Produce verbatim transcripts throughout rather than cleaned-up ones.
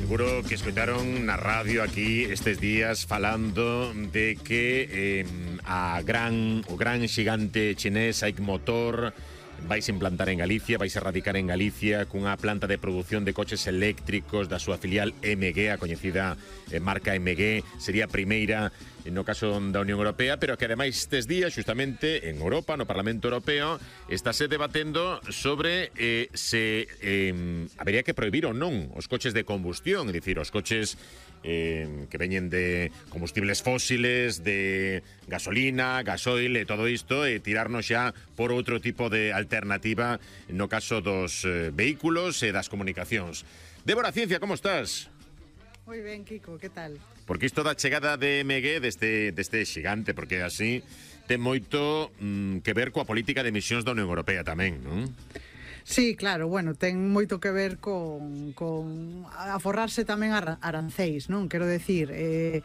Seguro que escoitaron na radio aquí estes días falando de que eh, a gran, o gran xigante chinés Aic Motor vais implantar en Galicia, vais a radicar en Galicia cunha planta de produción de coches eléctricos da súa filial M G, a coñecida eh, marca M G. Sería a primeira no caso da Unión Europea, pero que ademais estes días, justamente en Europa, no Parlamento Europeo, estáse debatendo sobre eh, se eh, habería que prohibir ou non os coches de combustión, é dicir, os coches eh, que veñen de combustibles fósiles, de gasolina, gasoil e todo isto, e tirarnos xa por outro tipo de alternativa no caso dos eh, vehículos e das comunicacións. Débora Ciencia, como estás? Moi ben, Kiko, que tal? Porque isto da chegada de M G deste, deste xigante, porque así ten moito mm, que ver coa política de emisións da Unión Europea tamén, non? Sí, claro, bueno, ten moito que ver con, con aforrarse tamén a aranceis, non? Quero decir, eh,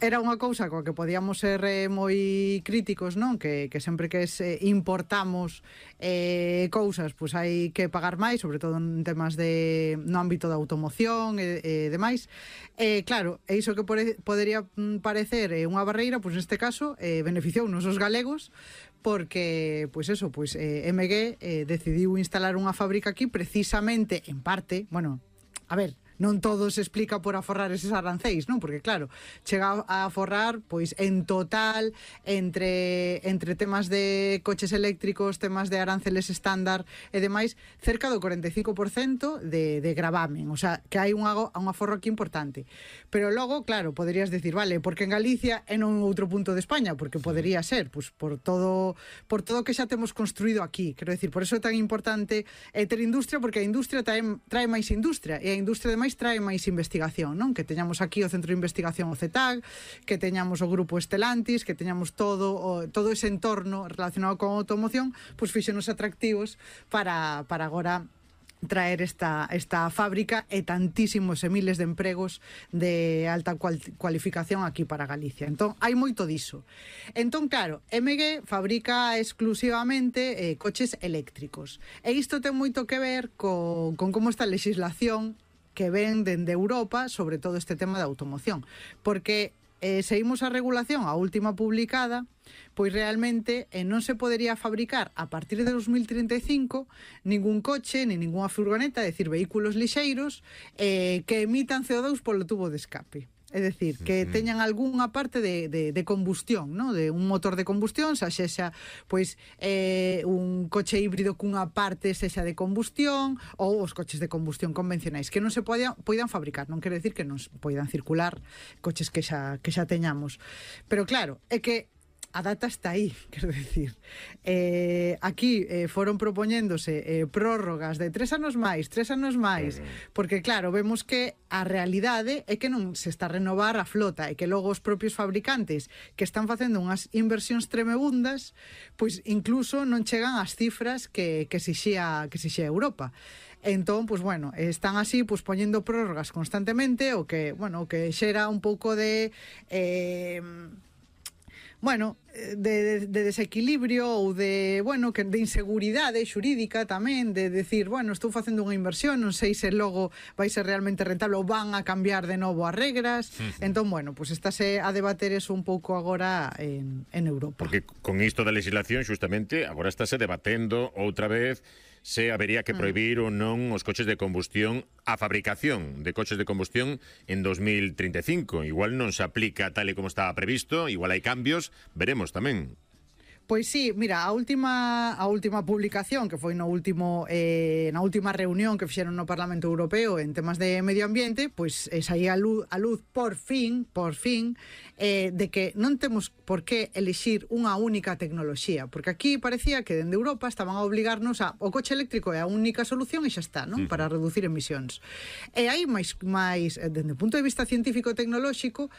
era unha cousa coa que podíamos ser eh, moi críticos, non? Que, que sempre que se importamos eh, cousas, pois pues hai que pagar máis, sobre todo en temas de no ámbito da automoción e, e demais. Eh, claro, e iso que pore, podería parecer eh, unha barreira, pois pues neste caso eh, beneficiounos os galegos, porque, pois eso, pois eh, M G eh, decidiu instalar unha fábrica aquí precisamente, en parte, bueno, a ver, non todo se explica por aforrar eses aranceis, non? Porque claro, chega a aforrar pois en total entre entre temas de coches eléctricos, temas de aranceles estándar e demais, cerca do cuarenta e cinco por cento de, de gravamen, o sea, que hai un, un aforro aquí importante. Pero logo, claro, poderías decir, vale, porque en Galicia e non outro punto de España, porque podería ser, pois por todo por todo que xa temos construído aquí. Quero decir, por eso é tan importante eh, ter industria, porque a industria trae, trae máis industria, e a industria ademais trae máis investigación, non? Que teñamos aquí o Centro de Investigación, o C E T A G, que teñamos o Grupo Estelantis, que teñamos todo o, todo ese entorno relacionado con a automoción, pois fíxenos atractivos para, para agora traer esta, esta fábrica e tantísimos e miles de empregos de alta cual, cualificación aquí para Galicia. Entón, hai moito diso. Entón, claro, M G fabrica exclusivamente eh, coches eléctricos. E isto ten moito que ver co, con como está a legislación que ven dende Europa sobre todo este tema da automoción, porque eh, seguimos a regulación, a última publicada, pois realmente eh, non se podería fabricar a partir de dos mil trinta e cinco ningún coche, ni ninguna furgoneta, é dicir, vehículos lixeiros eh, que emitan C O dos polo tubo de escape. É dicir, que teñan algunha parte de, de, de combustión, ¿no? De un motor de combustión, xa sexa pois, eh, un coche híbrido cunha parte sexa de combustión, ou os coches de combustión convencionais, que non se poidan, poidan fabricar. Non quere decir que non poidan circular coches que xa, que xa teñamos. Pero claro, é que a data está aí, quero decir. Eh, aquí eh, foron propoñéndose eh, prórrogas de tres anos máis, tres anos máis, porque claro, vemos que a realidade é que non se está a renovar a flota e que logo os propios fabricantes que están facendo unhas inversións tremebundas, pois incluso non chegan ás cifras que, que exixía, que exixía Europa. Entón, pois bueno, están así pois poñendo prórrogas constantemente, o que, bueno, o que xera un pouco de eh, bueno, de, de, de desequilibrio ou de, bueno, que de inseguridade xurídica tamén, de decir, bueno, estou facendo unha inversión, non sei se logo vai ser realmente rentable ou van a cambiar de novo as regras. Uh-huh. Entón, bueno, pues estáse a debater eso un pouco agora en, en Europa. Porque con isto da legislación, justamente, agora estáse debatendo outra vez se habería que prohibir ou non os coches de combustión, a fabricación de coches de combustión en dos mil trinta e cinco. Igual non se aplica tal e como estaba previsto, igual hai cambios, veremos tamén. Pois sí, mira, a última a última publicación que foi no último eh, na última reunión que fixeron no Parlamento Europeo en temas de medio ambiente, pois eh, saía a luz, a luz por fin, por fin, eh, de que non temos por que elixir unha única tecnoloxía, porque aquí parecía que dende Europa estaban a obligarnos a o coche eléctrico é a única solución e xa está, non? Para reducir emisións. E hai máis máis dende o punto de vista científico e tecnolóxico,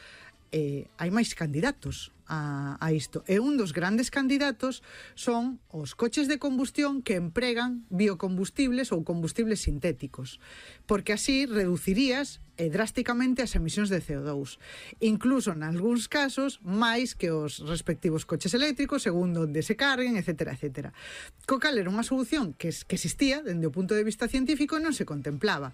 eh, hai máis candidatos a, a isto. E un dos grandes candidatos son os coches de combustión que empregan biocombustibles ou combustibles sintéticos, porque así reducirías eh, drásticamente as emisións de C O dous. Incluso, nalgúns casos, máis que os respectivos coches eléctricos, segundo onde se carguen, etcétera, etcétera. Co cal era unha solución que, que existía dende o punto de vista científico e non se contemplaba.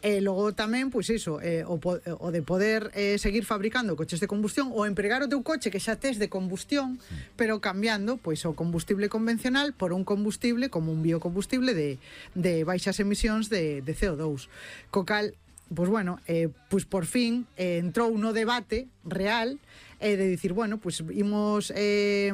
E logo tamén, pois iso, eh, o, o de poder eh, seguir fabricando coches de combustión ou empregar o teu coche que xa tes de combustión, pero cambiando pois o combustible convencional por un combustible como un biocombustible de, de baixas emisións de, de C O dous. Co cal, pois bueno, eh, pois por fin eh, entrou no debate real eh, de dicir, bueno, pois imos eh,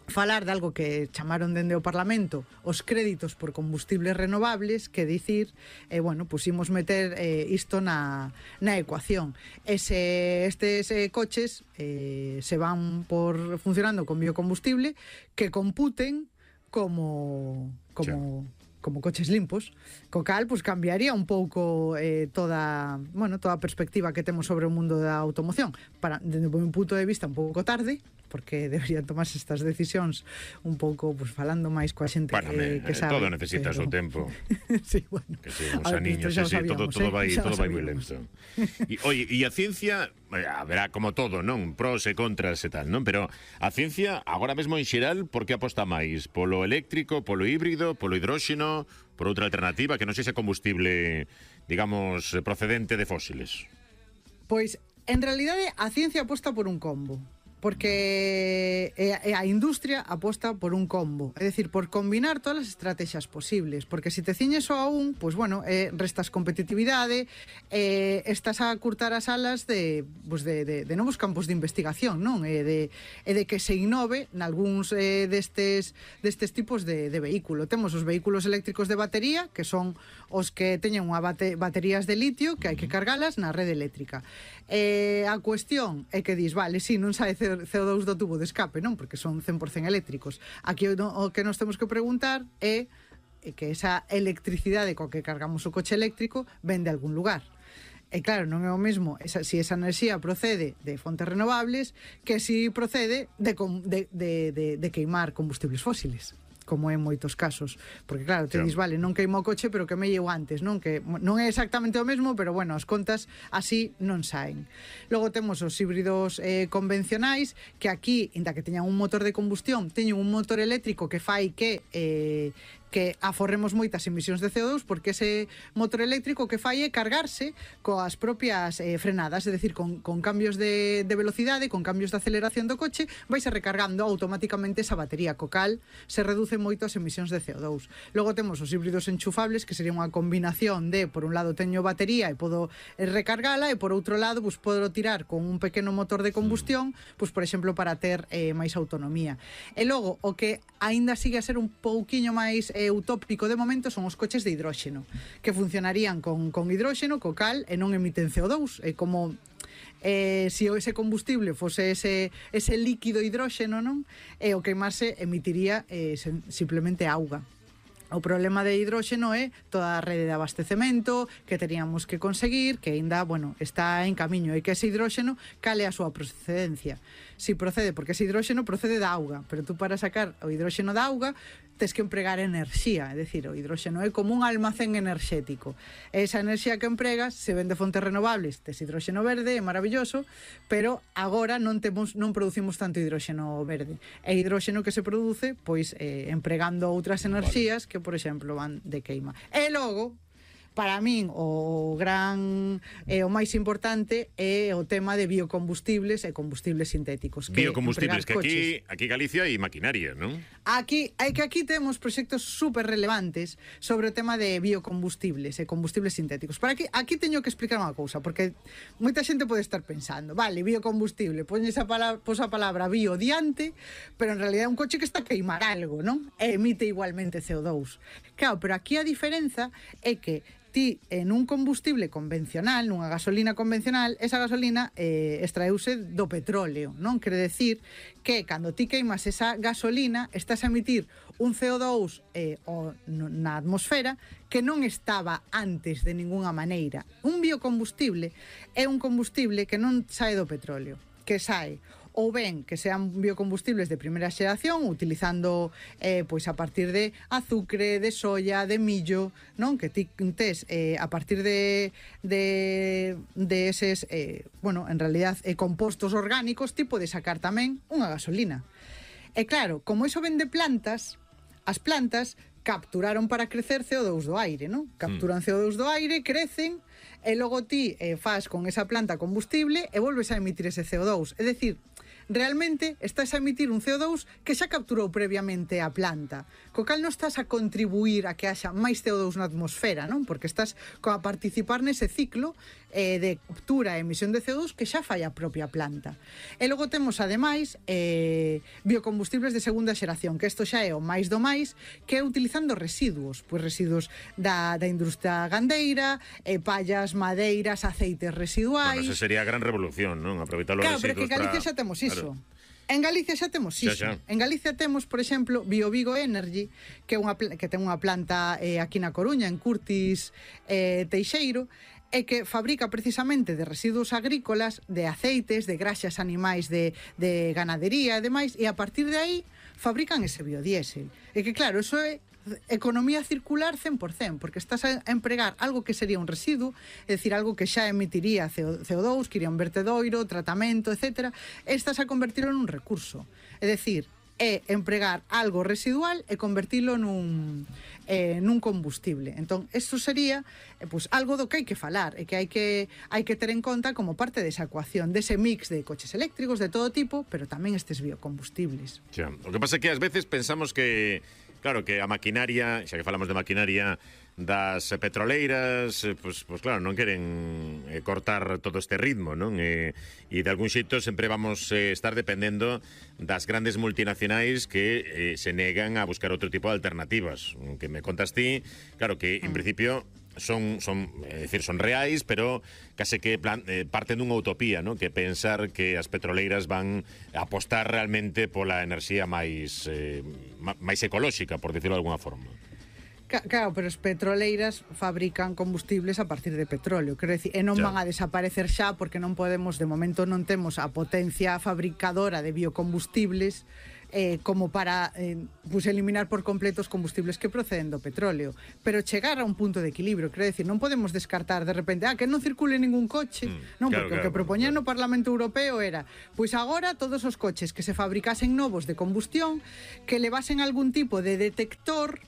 falar de algo que chamaron dende o Parlamento os créditos por combustibles renovables, que dicir, eh, bueno, pois imos meter eh, isto na, na ecuación. Ese, estes eh, coches eh, se van por funcionando con biocombustible que computen como como como coches limpos, co cal pues, cambiaría un pouco eh, toda, bueno, toda a perspectiva que temos sobre o mundo da automoción. Para, desde o meu punto de vista, un pouco tarde, porque deberían tomarse estas decisións un pouco, pues, falando máis coa xente bueno, eh, que sabe. Todo necesita o pero... seu tempo. Sí, bueno. Que si, uns aniños, sí, sí, todo, todo vai, eh? todo vai moi lento. E, oye, e a ciencia, haberá como todo, non? Pros e contras e tal, non? Pero a ciencia, agora mesmo en xeral, por que aposta máis? Polo eléctrico, polo híbrido, polo hidróxeno, por outra alternativa que non sexa combustible, digamos, procedente de fósiles? Pois, en realidade, a ciencia aposta por un combo. Porque a industria aposta por un combo, é dicir, por combinar todas as estrategias posibles, porque se te ciñes só a un, pois bueno, eh, restas competitividade, eh, estás a curtar as alas de, pues de, de, de novos campos de investigación, non? E de, e de que se innove nalgúns eh, destes, destes tipos de, de vehículo. Temos os vehículos eléctricos de batería, que son os que teñen unha bate, baterías de litio, que hai que cargalas na rede eléctrica. Eh, a cuestión é que dis, vale, si, non sabe C O dous do tubo de escape, non? Porque son cen por cento eléctricos. Aquí o, o que nos temos que preguntar é que esa electricidade coa que cargamos o coche eléctrico ven de algún lugar. E claro, non é o mesmo esa, si esa enerxía procede de fontes renovables que si procede de, de, de, de, de queimar combustibles fósiles, como en moitos casos, porque claro, te dis, vale, non queimo o coche, pero que me llevo antes, non? Que non é exactamente o mesmo, pero bueno, as contas así non saen. Logo temos os híbridos eh, convencionais, que aquí, inda que teñan un motor de combustión, teñen un motor eléctrico que fai que eh, que aforremos moitas emisións de C O dous, porque ese motor eléctrico que fai é cargarse coas propias eh, frenadas, é dicir, con, con cambios de, de velocidade, con cambios de aceleración do coche, vaise recargando automáticamente esa batería, co cal se reduce moito as emisións de C O dous. Logo temos os híbridos enchufables, que sería unha combinación de, por un lado, teño batería e podo eh, recargala, e por outro lado, pues, podo tirar con un pequeno motor de combustión, pues, por exemplo, para ter eh, máis autonomía. E logo, o que aínda sigue a ser un pouquiño máis eh, utópico de momento son os coches de hidróxeno, que funcionarían con, con hidróxeno, co cal, e non emiten C O dous, é como eh, se ese combustible fose ese, ese líquido hidróxeno, non? E o queimarse emitiría eh, sen, simplemente auga. O problema de hidróxeno é toda a rede de abastecemento que teríamos que conseguir, que ainda, bueno, está en camiño, e que ese hidróxeno cale a súa procedencia. Si procede, porque ese hidróxeno procede da auga, pero tú para sacar o hidróxeno da auga tes que empregar enerxía, é dicir, o hidróxeno é como un almacén enerxético. Esa enerxía que empregas se ven de fontes renovables, tes hidróxeno verde, é maravilloso, pero agora non temos non producimos tanto hidróxeno verde. E hidróxeno que se produce, pois, eh, empregando outras enerxías que, por exemplo, van de queima. E logo, para min, o gran e eh, o máis importante é o tema de biocombustibles e combustibles sintéticos. Que biocombustibles, que aquí, aquí Galicia hai maquinaria, non? Aquí, hai que aquí temos proxectos super relevantes sobre o tema de biocombustibles e combustibles sintéticos. Para aquí, aquí teño que explicar unha cousa, porque moita xente pode estar pensando, vale, biocombustible, poñes a palabra, pos a palabra bio diante, pero en realidad é un coche que está a queimar algo, non? E emite igualmente C O dous. Claro, pero aquí a diferenza é que ti en un combustible convencional, nunha gasolina convencional, esa gasolina eh, extraeuse do petróleo, non? Quere decir que cando ti queimas esa gasolina estás a emitir un C O dous eh, o, na atmosfera que non estaba antes de ninguna maneira. Un biocombustible é un combustible que non sae do petróleo, que sae ou ben que sean biocombustibles de primeira xeración, utilizando eh, pois a partir de azucre, de soya, de millo, non? Que ti tes eh, a partir de de, de eses eh, bueno, en realidad eh, compostos orgánicos, ti podes sacar tamén unha gasolina. E claro, como iso ven de plantas, as plantas capturaron para crecer C O dous do aire, non? Capturan C O dous do aire, crecen, e logo ti eh, faz con esa planta combustible e volves a emitir ese C O dous. É dicir, realmente estás a emitir un C O dous que xa capturou previamente a planta, co cal non estás a contribuir a que haxa máis C O dous na atmosfera, non? Porque estás a participar nese ciclo eh, de captura e emisión de C O dous que xa fai a propia planta. E logo temos, ademais, eh, biocombustibles de segunda xeración, que isto xa é o máis do máis, que é utilizando residuos, pois residuos da, da industria gandeira, eh, pallas, madeiras, aceites residuais... Bueno, esa sería a gran revolución, non? Aproveitar os claro, residuos pero que Galicia para... xa temos iso. Claro. En Galicia xa temos iso. Xa, xa. En Galicia temos, por exemplo, BioVigo Energy, que é unha que ten unha planta eh, aquí na Coruña, en Curtis eh, Teixeiro, e que fabrica precisamente de residuos agrícolas, de aceites, de graxas animais de, de ganadería e demais, e a partir de aí fabrican ese biodiesel. E que claro, eso é economía circular cen por cen, porque estás a empregar algo que sería un residuo, é dicir, algo que xa emitiría C O dous, que iría un vertedoiro, tratamento, etcétera, e estás a convertirlo nun recurso. É dicir, é empregar algo residual e convertilo nun, eh, nun combustible. Entón, isto sería eh, pues, algo do que hai que falar e que hai que hai que ter en conta como parte desa ecuación, dese mix de coches eléctricos de todo tipo, pero tamén estes biocombustibles. Xa. O que pasa é que ás veces pensamos que claro, que a maquinaria, xa que falamos de maquinaria das petroleiras, pois, pois claro, non queren eh, cortar todo este ritmo, non? E, e de algún xeito sempre vamos eh, estar dependendo das grandes multinacionais que eh, se negan a buscar outro tipo de alternativas. Que me contas ti, claro, que en principio son son, é dicir, son reais, pero case que plan, eh, parten dunha utopía, ¿no? Que pensar que as petroleiras van a apostar realmente pola enerxía máis eh, máis ecolóxica, por decirlo de alguna forma. Claro, pero as petroleiras fabrican combustibles a partir de petróleo, quero dicir, e non ya. van a desaparecer xa porque non podemos, de momento non temos a potencia fabricadora de biocombustibles eh, como para eh, pues eliminar por completo os combustibles que proceden do petróleo, pero chegar a un punto de equilibrio, quero dicir, non podemos descartar de repente, ah, que non circule ningún coche, mm, non, claro, porque claro, o que propoñían claro. no Parlamento Europeo era, pois agora todos os coches que se fabricasen novos de combustión que levasen algún tipo de detector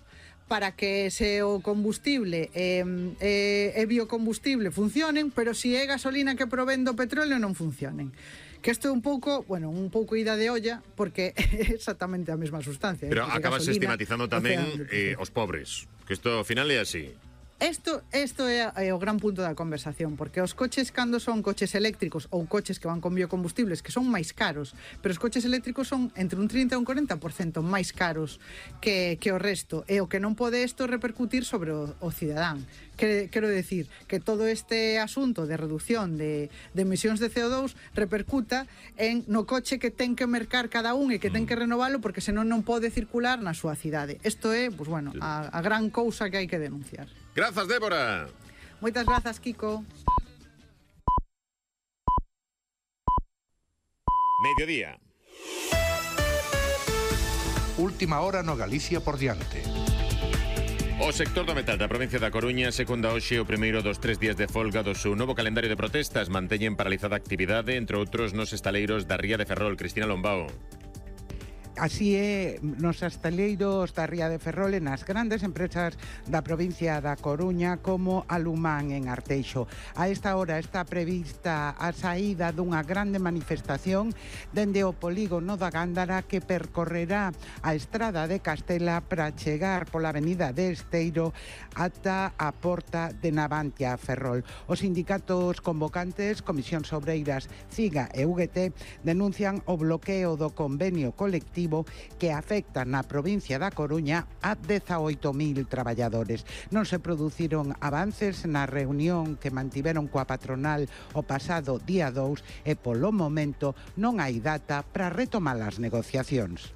para que se o combustible é eh, eh, biocombustible funcionen, pero se si é gasolina que provén do petróleo non funcionen. Que isto é un pouco, bueno, un pouco ida de olla, porque é exactamente a mesma sustancia. Pero eh, acabas gasolina, estigmatizando tamén océano, eh, os pobres, que isto ao final é así. Isto, isto é, é o gran punto da conversación, porque os coches, cando son coches eléctricos ou coches que van con biocombustibles, que son máis caros, pero os coches eléctricos son entre un trinta e un corenta por cento máis caros que, que o resto, e o que non pode isto repercutir sobre o, o cidadán. Que, quero decir, que todo este asunto de reducción de, de emisións de C O dous repercuta en no coche que ten que mercar cada un e que ten que renovalo, porque senón non pode circular na súa cidade. Isto é, pues, bueno, a, a gran cousa que hai que denunciar. Grazas, Débora. Moitas grazas, Kiko. Mediodía. Última hora no Galicia por diante. O sector do metal da provincia da Coruña secunda hoxe o primeiro dos tres días de folga do seu novo calendario de protestas. Manteñen paralizada a actividade, entre outros, nos estaleiros da Ría de Ferrol. Cristina Lombao. Así é, nos estaleiros da Ría de Ferrol e nas grandes empresas da provincia da Coruña como Alumán en Arteixo. A esta hora está prevista a saída dunha grande manifestación dende o polígono da Gándara que percorrerá a estrada de Castela para chegar pola avenida de Esteiro ata a porta de Navantia, Ferrol. Os sindicatos convocantes, Comisións Obreiras, CIGA e U G T denuncian o bloqueo do convenio colectivo que afecta na provincia da Coruña a dezaoito mil traballadores. Non se produciron avances na reunión que mantiveron coa patronal o pasado día dous e polo momento non hai data para retomar as negociacións.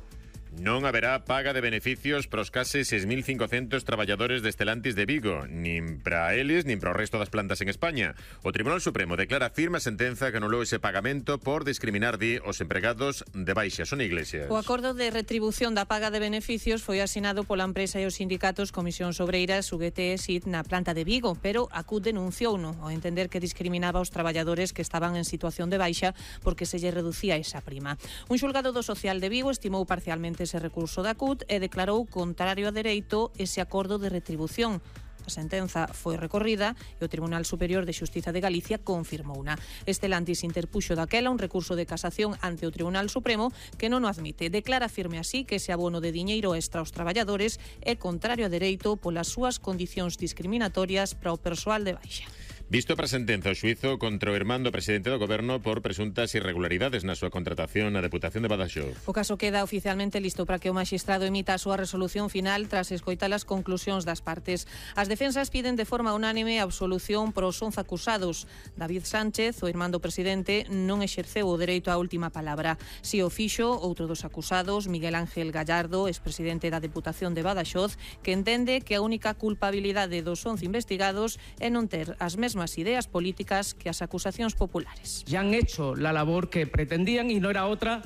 Non haberá paga de beneficios para os case seis mil cincocentos traballadores de Estelantis de Vigo, nin para eles, nin para o resto das plantas en España. O Tribunal Supremo declara firme a sentenza que anulou ese pagamento por discriminar, di, os empregados de baixa. Son Iglesias. O acordo de retribución da paga de beneficios foi asinado pola empresa e os sindicatos Comisións Obreiras, U G T e S I T na planta de Vigo, pero a C U T denunciouno ao entender que discriminaba aos traballadores que estaban en situación de baixa porque se lle reducía esa prima. Un xulgado do Social de Vigo estimou parcialmente ese recurso da C U T e declarou contrario a dereito ese acordo de retribución. A sentenza foi recorrida e o Tribunal Superior de Xustiza de Galicia confirmouna. Estelantis interpuxo daquela un recurso de casación ante o Tribunal Supremo que non o admite. Declara firme así que ese abono de diñeiro extra aos traballadores é contrario a dereito polas súas condicións discriminatorias para o persoal de baixa. Visto para sentenza o xuizo contra o irmán do presidente do Goberno por presuntas irregularidades na súa contratación na Deputación de Badaxoz. O caso queda oficialmente listo para que o magistrado emita a súa resolución final tras escoitar as conclusións das partes. As defensas piden de forma unánime a absolución para os once acusados. David Sánchez, o irmán do presidente, non exerceu o dereito á última palabra. Si o fixo, outro dos acusados, Miguel Ángel Gallardo, expresidente da Deputación de Badaxoz, que entende que a única culpabilidade dos once investigados é non ter as mesmas ideas políticas que as acusacións populares. Ya han hecho la labor que pretendían y no era otra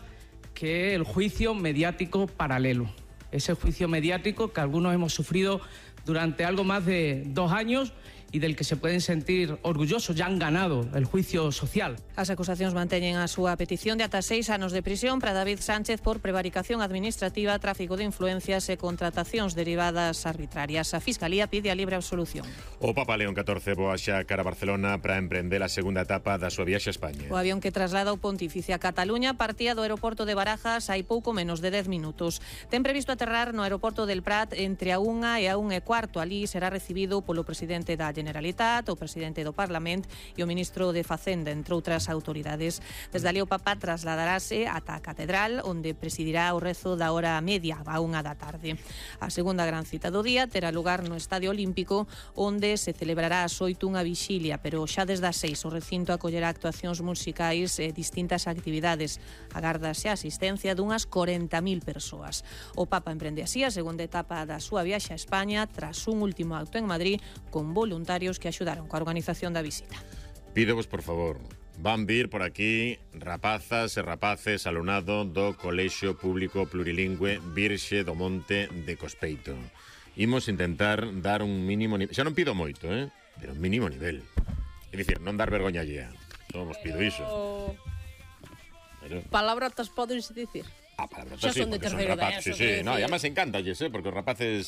que el juicio mediático paralelo. Ese juicio mediático que algunos hemos sufrido durante algo más de dos años y del que se pueden sentir orgullosos, ya han ganado el juicio social. As acusacións manteñen a súa petición de ata seis anos de prisión para David Sánchez por prevaricación administrativa, tráfico de influencias e contratacións derivadas arbitrarias. A Fiscalía pide a libre absolución. O Papa León catorce voa xa cara a Barcelona para emprender a segunda etapa da súa viaxe a España. O avión que traslada o pontífice a Cataluña partía do aeroporto de Barajas hai pouco menos de dez minutos. Ten previsto aterrar no aeroporto del Prat entre a unha e a unha e cuarto. Alí será recibido polo presidente da Generalitat, o presidente do Parlamento e o ministro de Facenda, entre outras autoridades. Desde ali o Papa trasladarase ata a Catedral, onde presidirá o rezo da hora media, a unha da tarde. A segunda gran cita do día terá lugar no Estadio Olímpico, onde se celebrará ás oito unha vixilia, pero xa desde as seis o recinto acollerá actuacións musicais e distintas actividades. Agárdase a asistencia dunhas corenta mil persoas. O Papa emprende así a segunda etapa da súa viaxe a España tras un último acto en Madrid con voluntarios que axudaron coa organización da visita. Pídovos, por favor, van vir por aquí rapazas e rapaces alumnado do Colexio Público Plurilingüe Virxe do Monte de Cospeito. Imos intentar dar un mínimo nivel, xa non pido moito, eh? Pero un mínimo nivel. É dicir, non dar vergoña allea. Non vos pido iso. Pero... palabrotas podense dicir. Ah, palabrotas sí, porque son rapaces. Sí, sí, no, e además encántalles, eh? Porque os rapaces